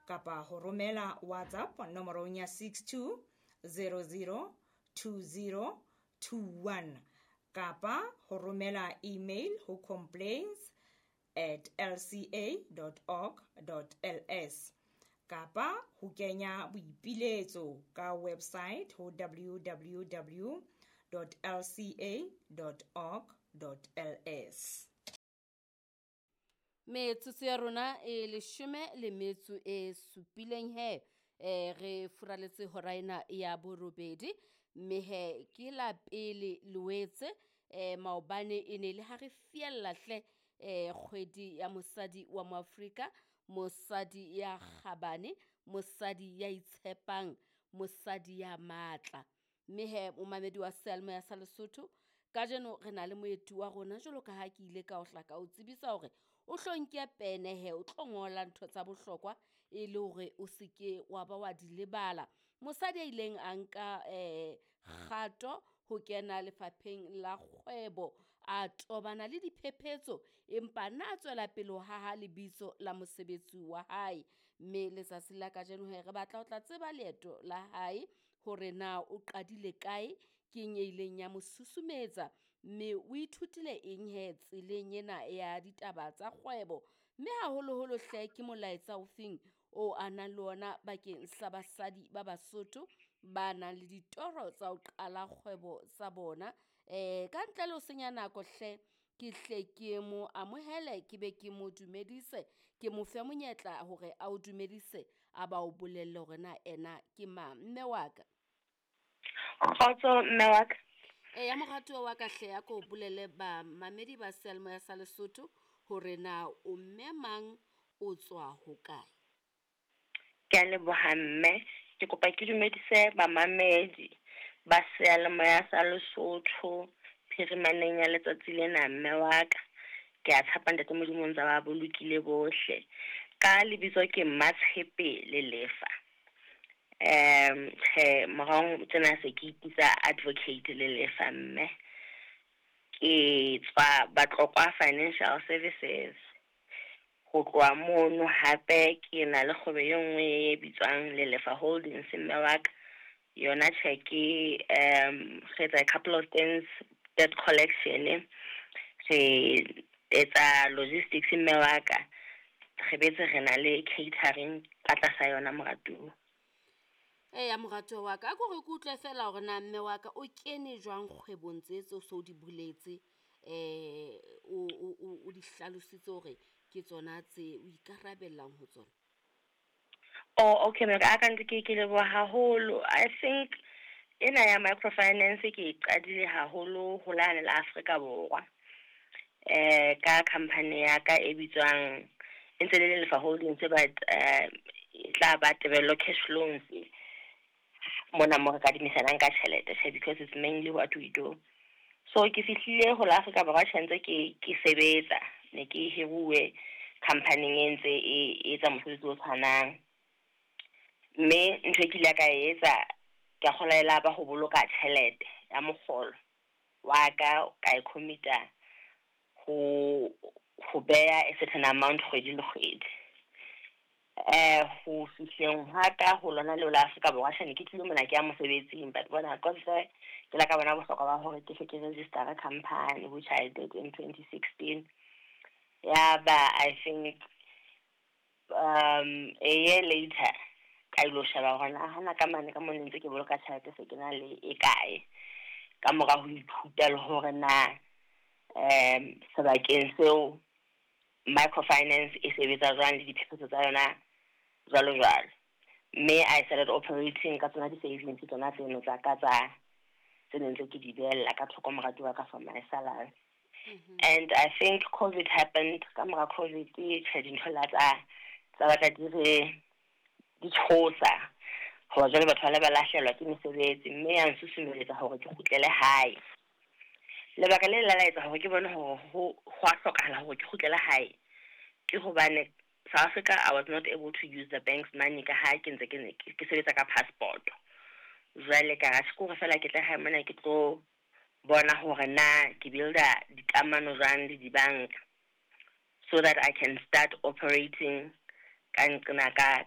Kapa ho romela WhatsApp nomorong ya 62 00 20 21 kapa ho romela email ho complaints@lca.org.ls kapa ho kenya boipiletso ka website ho www.lca.org.ls. Metsotso ya rona e 17 he re furaletse hora ena ya 8, mme he ke la pele Loetse. Maobane e ne le ha re fiella hle kgwedi ya mosadi wa Moafrika, mosadi ya kgabane, mosadi ya itshepang, mosadi ya matla. Mme he momamedi wa seyalemoya sa Lesotho, kajeno re na le moeti wa rona jwalo ka ha ke ile ka o hla ka o tsebisa hore o hlo nke pene he o tlo ngola ntho tsa bohlokwa e le hore o seke wa ba wa di lebala. Mosadi a ileng a nka kgato ho kena lefapheng la kgwebo, a tobana le diphephetso, empa na tswela pele ho haha lebitso la mosebetsi wa hae. Mme letsatsi la kajeno he re batla ho tla tseba leeto la hae, hore na o qadile kae, ke eng e ileng ya mo susumetsa, mme o ithutile eng he tseleng ena ya ditaba tsa kgwebo. Mme haholoholo hle ke molaetsa ofeng o a nang le ona bakeng sa basadi ba Basotho ba nang le ditoro tsa ho qala kgwebo tsa bona. Ka ntle le ho senya nako hle, ke hle ke mo amohele, ke be ke mo dumedise, ke mo fe monyetla hore a o dumedise, a ba o bolelle hore na ena ke mang. Mme wa ka. Kgotso mme wa ka. Eya moratuwa wa ka hle, a ko bolelle bamamedi ba seyalemoya sa Lesotho hore na o mme mang, o tswa hokae. Ke a leboha mme, ke kopa ke dumedise bamamedi ba seyalemoya sa Lesotho phirimaneng ya letsatsi lena mme wa ka. Ke a tshepa ntate Modimo o ntse ba bolokile bohle. Ka lebitso ke Mmatshepe Lelefa. Tjhe, morao tjena se ke ipitsa Advocate Lelefa mme. Ke tswa Batlokwa Financial Services. Ho tloha mono hape ke na le kgwebo e nngwe e bitswang Lelefa Holdings mme wa ka. Yona tjhe ke re etsa a couple of things, debt collection, re etsa logistics mme wa ka. Re betse re na le catering ka tlasa yona moratuwa. Eya moratuwa wa ka, a ko re ke utlwe fela hore na mme wa ka o kene jwang kgwebong tse tseo so di boletse, o di hlalositse hore ke tsona tse o ikarabellang ho tsona. Oh, okay, mme ka ntse ke leboha haholo. I think ena ya microfinance ke e qadile haholo ho lane la Afrika Borwa. Ka company ya ka e bitswang e ntse le Lelefa Holdings, but e tla ba Tebello Cash Loans mona mo re kadimisanang ka tjhelete tjhe, because it's mainly what we do. So ke fihlile ho la Afrika Borwa tjhe ntse ke sebetsa, ne ke hiruwe company e ntse e etsa mosebetsi o tshwanang. Mme ntho e ke ile ka e etsa, ke a kgolwa e la ba ho boloka tjhelete ya mokgolo wa ka, ka e commit-a ho beha a certain amount kgwedi le kgwedi. Ho fihleng hwa ka ho lona leo la Afrika Borwa tjhe, ne ke tlile mona ke ya mosebetsing, but bona ka ntle ke la ka bona bohlokwa ba hore ke hle ke register company, which I did in 2016. Ya ba I think a year later ka ilo sheba hore na hana ka mane ka mona ntse ke boloka tjhelete se ke na le e kae, ka mora ho ithuta le hore na sebakeng seo microfinance e sebetsa jwang le diphephetso tsa yona jwalo jwalo. Mme I started operating ka tsona di-savings tsona tseno tsa ka tsa tse neng ntse ke di behella ka thoko moratuwa ka for my salary. And I think COVID happened. Ka mora COVID tjhe, dintho la tsa batla di re di tshosa, hoba jwale batho ba le ba lahlehelwa ke mesebetsi, mme ya nsusumeletsa hore ke kgutlele hae. Lebaka le la etsa hore ke bone hore ho a hlokahala hore ke kgutlele hae ke hobane South Africa I was not able to use the bank's money ka ha ke ntse ke sebetsa ka passport. Jwale ka ra ke hore fela ke tle hae mona ke tlo bona hore na ke builda dikamano jwang le dibanka so that I can start operating ka nqena ka